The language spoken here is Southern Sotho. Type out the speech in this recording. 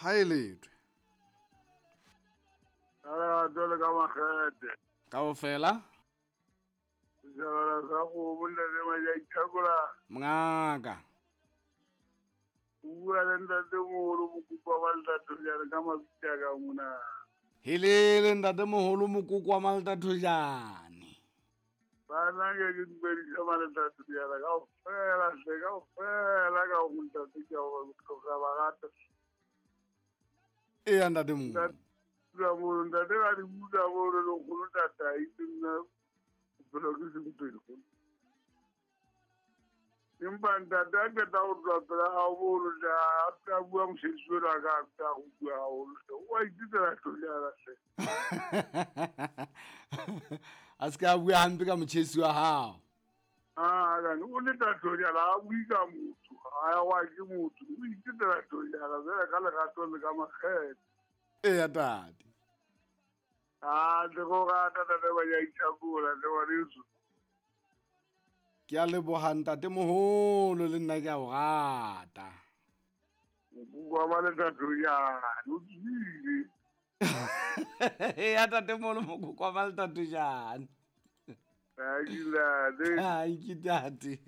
Ha e letwe. Ka lerato le ka makgethe. Kaofela. Setjhabana sa kgomo ntate Majaithakola. Mongaka. O bua le ntate moholo Mokoko wa Maltathojane ka mabitso a ka mona. Helele ntate moholo Mokoko wa Maltathojane. Bana ke ke dumedisa Maltathojane kaofela hle kaofela ka ho ntate ke a o hloka ba rata. Eya ntate moholo. Ntate moholo ntate ka di utlwa mono le nkgono tatai nna bophelo ke sempelo. Empa ntate a qeta ho tloha pela hao mono hle a ska bua mosebetsi ona ka a ska go bua haholo hle o a itsetsela hlonyana hle. A se ka bua hampe ka motjhesi wa hao. Ah, kane o le tahlonyana a bue ka motho a wa ke motho o itsetsela hlonyana fela ka lerato le ka makgethe. Eya tate. A tle go rata tate ba ya ithakola le ngwaneso. Ke a leboha ntate moholo le nna ke a o rata. Mokoko wa Maletathojane o tswile. Eya tate moholo mokoko wa Maletathojane. Thank you, ntate. Thank you, tate.